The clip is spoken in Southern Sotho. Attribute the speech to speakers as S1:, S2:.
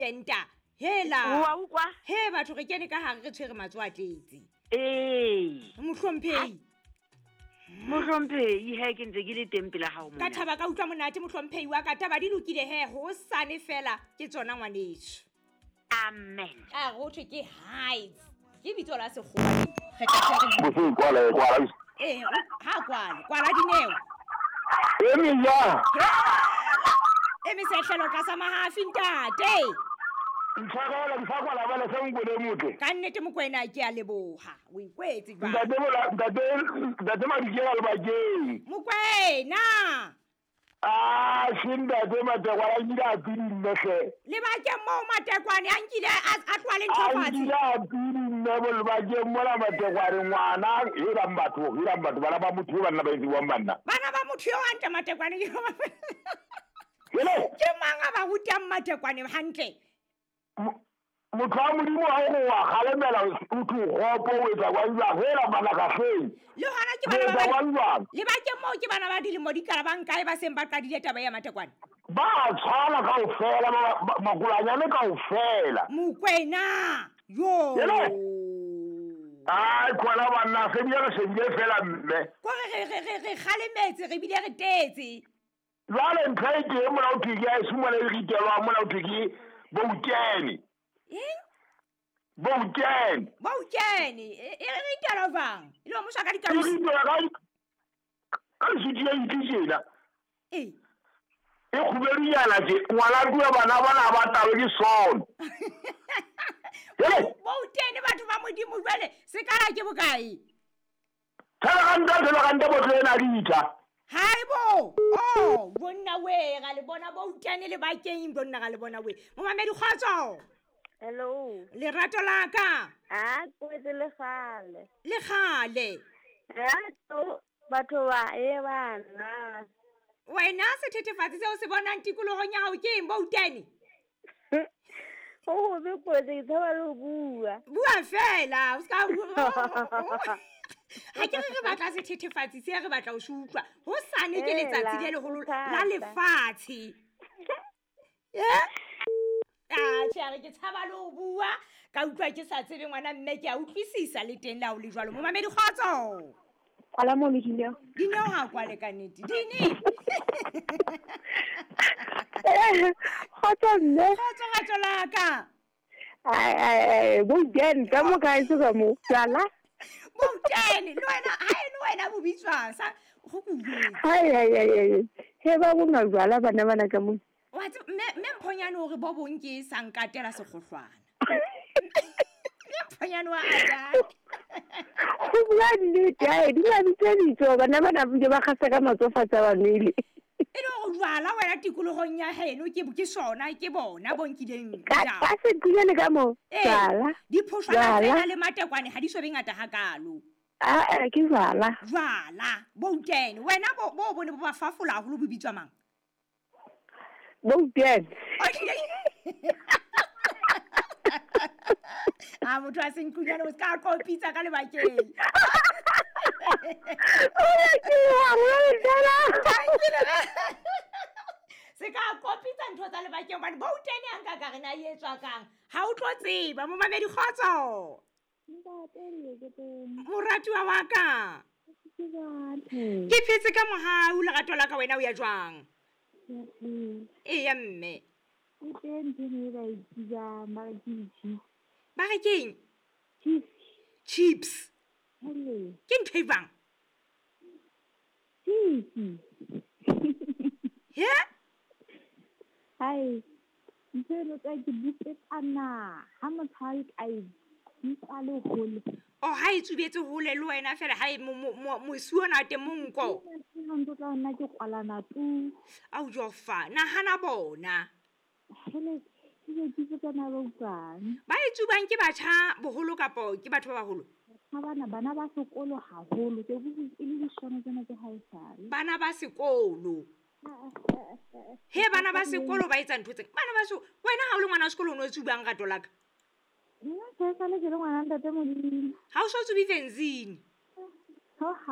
S1: Enta hela.
S2: Wa utlwa?
S1: He batho re kene ka hare re tshwere matsoho a tletse.
S2: Ee.
S1: Mohlomphehi.
S2: Mohlomphehi he ke ntse ke le teng pela hao
S1: Ka
S2: mona.
S1: thaba ka utlwa monate mohlomphehi wa ka, taba di lokile he, hosane fela ke tsona ngwaneso.
S2: Amen.
S1: A go thwe ke Heights. Ke bitso la sekgowa. Re tla hle re
S3: Boseng kwala kwala.
S1: Eh, ha kwale, kwala dineo.
S3: Emi ya.
S1: E mesehlelo tlasa mahafi ntate.
S3: Ntlhakala ntlhakwala bala se nkwele motle.
S1: Ka nnete Mokoena ke a leboha. O ikwetse jwang?
S3: Ntate bola ntate ntate Madikela le bakeng.
S1: Mokoena.
S3: Ah, se ntate Matekwane a nkile a pidi mme hle.
S1: Lebakeng moo Matekwane a nkile a tloha le ntho
S3: A
S1: fatshe.
S3: nkile a pidi mme bo lebakeng mola Matekwane ngwana helang batho helang batho bana ba motho eo banna ba etsiwang banna.
S1: Bana ba motho eo hantle Matekwane ke
S3: Hele.
S1: Ke mang a ba rutang Matekwane hantle?
S3: Motho wa Modimo ha o wa kgalemela o thwe o kgopo o etsa kwa jwang hela bana ka hleng.
S1: Le hona ke bana
S3: O etsa
S1: ba
S3: kwa jwang?
S1: Lebakeng moo ke bana ba dilemo di ka bang kae ba seng ba qadile taba ya Matekwane?
S3: Ba tshwana kaofela makulanyane kaofela.
S1: Mokoena yo.
S3: Hele. Ai khona banna se bile re shebile fela mme.
S1: Kore re kgalemetse re bile re tetse.
S3: Jwale ntho e teng mona ho thwe ke ya e simona e ritelwang mona ho thwe ke Boutene.
S1: Eng?
S3: Boutene.
S1: Boutene. E ritelwa jwang? E le wa mosha ka
S3: E
S1: dikausi.
S3: ritelwa ka leswiti ya itse tjena.
S1: Ee.
S3: E kgubedunyana tje, ngwana tue bana bana ba tabe ke sona. Hele.
S1: Boutene batho ba Modimo jwale sekala ke bokae?
S3: Thelakanta botlo ena ditha.
S1: Hai bo. Oh, bonna we ga le bona Boutene le bakeng bonna ga le bona we. Momamedi kgotso.
S4: Hello.
S1: Lerato la ka.
S4: A kwetse le kgale.
S1: Le kgale.
S4: Rato batho ba e bana.
S1: Wena sethethefatsi seo se bonang tikolohong ya hao ke eng Boutene?
S4: Ho be kwetse ke tshaba le ho bua.
S1: Bua fela, o ska bua. Ha ke re batla sethethefatsi se re batla ho se utlwa. Hosane ke letsatsi le leholo la lefatshe. Ah, tjhe, a re ke tshaba le ho bua. Ka utlwa ke sa tsebe ngwana mme ke a utlwisisa le teng le ha o le jwalo. Momamedi kgotso.
S5: Kwala mono Dineo.
S1: Dineo ha kwale ka nnete. Dini.
S5: Kgotso mme.
S1: Kgotso rato la ka.
S5: Ai ai ai, Boutene ka mo kae se ka mo. Jwala.
S1: Boutene le wena ha e le wena bo bitswang sa go kuwe.
S5: Ai ai ai ai. He ba bo majwala bana bana ka mo.
S1: Wa tseba mme Mphonyane o re bo bong ke sa nkatela sekgohlwana. Mme Mphonyane wa ata.
S5: Go bua nnete, ai di ba bitsa ditso bana bana bile ba gasa ka matsofatsa ba nwele.
S1: E le hore jwala wena tikolohong ya heno ke sona ke bona bo nkileng
S5: Ka
S1: jwala.
S5: ka setunyane ka mo.
S1: Ee,
S5: Jwala.
S1: diphoshwana
S5: Jwala.
S1: tsena le Matekwane ha di so be ngata hakalo.
S5: Ah, ke jwala.
S1: Jwala, Boutene wena bo bone bo ba fafola haholo bo bitswa mang?
S5: Boutene.
S1: A motho a senkunyane o ska qopitsa ka lebakeng. Se ka qopitsa ntho tsa lebakeng hobane Boutene a nka ka re na e etswa kang. Ha o tlo tseba momamedi kgotso. Moratuwa wa ka. Ke phetse ka mohau lerato la ka wena o ya jwang? Eya mme. Ba re keng? Chips. Ke ntho e jwang? He?
S6: Hai, ntho e tsa ke bupetsana ha motho a ka e bitsa le hole.
S1: Oh, ha e tsubetse hole le wena fela ha e mosi ona teng monko.
S6: Ke ntho tla nna ke kwalana tu.
S1: Au jofa, nahana bona.
S6: Hele, ke ke tsana ba utlwang.
S1: Ba e tsubang ke batjha boholo kapo ke batho ba baholo?
S6: Ha bana ba sekolo haholo, ke bua e le dishono tsena tse haesale.
S1: Bana ba sekolo. He bana ba sekolo ba etsa ntho tse. Bana ba wena ha o le ngwana wa sekolo o no tsubang rato la ka?
S6: Nna ke sa le ke le ngwana ntate Modimo.
S1: Ha o so tsubi benzene.
S6: Ha